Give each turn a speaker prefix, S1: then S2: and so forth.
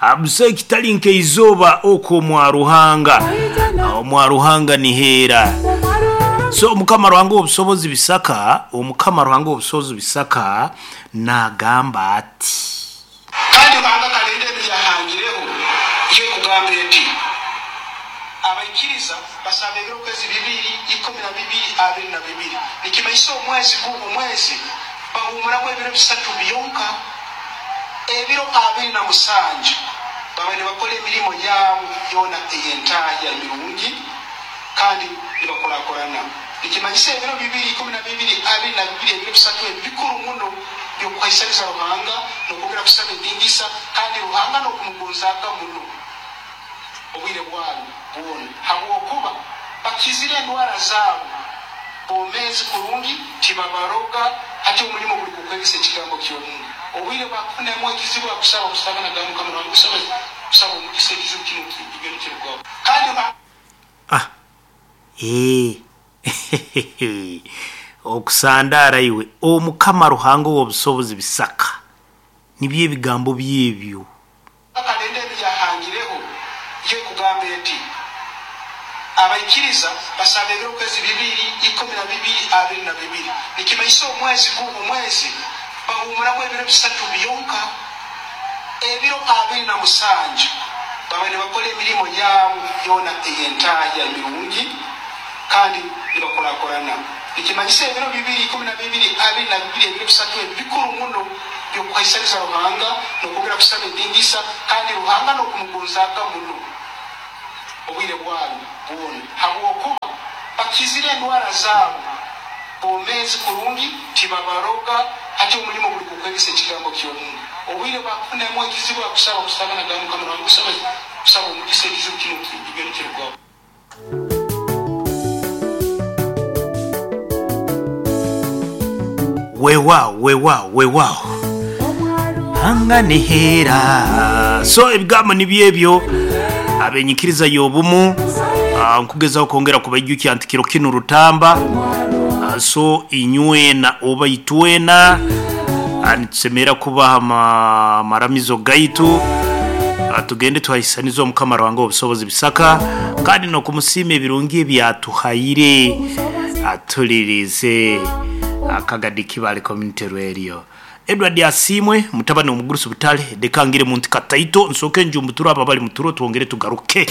S1: Busaho ekitali nk'eizooba okwo omwa Ruhanga. Omwa Ruhanga niheera. So Omukama Ruhanga ow'obusobozi Bisaka, Omukama Ruhanga ow'obusobozi Bisaka naagamba ati.
S2: Kandi Ruhanga akalenda ebi yahangireho yo ekugamba eti, Abaikiriza basaba ebiro kwezi bibiri, 12, 22. Nikimanyisa omwezi gu omwezi bahumuramu ebiro bisatu byonka. Ebiro 27 baba nibakora emirimo yaabu yoona ey'entahya emirungi kandi nibakurakurana. Nikimanyisa ebiro bibiri, 12, 22, ebiro bisatu ebi bikuru muno by'okuhaisaniza Ruhanga n'okwongera kusaba endingisa kandi Ruhanga n'okumugonzaaga muno obwire bwabu bwona habwokuba bakizire endwara zaabu bomeezi kurungi tibabaroga hati omulimo guli gw'okwegesa ekigambo ky'omuntu obwire bwakufunamu ekizibu akusaba kusaba nagamba Mukama Ruhanga kusaba kusaba omugisa ekizibu kinu kigende kirugaho kandi
S1: Ah eeh hehehe okusandaara iwe Omukama Ruhanga ow'obusobozi bisaka nibyo ebigambo bye ebyo.
S2: Akalenda ebi yahangireho yo ekugamba eti, Abaikiriza basaba ebiro kwezi bibiri, 12, 22. Nikimanyisa omwezi gu omwezi bahumuramu ebiro bisatu byonka. Ebiro 27 baba nibakora emirimo yaabu yoona ey'entahya emirungi kandi nibakurakurana. Nikimanyisa ebiro bibiri, 12, 22, ebiro bisatu ebi bikuru muno by'okuhaisaniza Ruhanga n'okwongera kusaba endingisa kandi Ruhanga n'okumugonzaaga muno obwire bwabu bwona habwokuba bakizire endwara zaabu bomeezi kurungi tibabaroga hati omulimo guli gw'okwegesa ekigambo ky'omuntu obwire bwakufunamu ekizibu akusaba kusaba nagamba Mukama Ruhanga kusaba kusaba omugisa ekizibu kinu kigende kirugaho.
S1: Weewaawo weewaawo weewaawo Ruhanga niheera. So ebigambo nibyo ebyo abenyikiriza y'obumu nkugezaho kwongera kubaijukya nti kiro kinu Rutamba so inywena oba itwena nitusemerra kubaha amaramizo gaitu tugende tuhaisanize Omukama Ruhanga ow'obusobozi Bisaka kandi n'okumusiima ebirungi ebi atuhaire atulirize Akagadi Kibale Community Radio. Edward Asiimwe mutabani w'omugurusi Butale, leka ngire muntu kataito nsooke njumbuture abo abali muturo twongere tugaruke.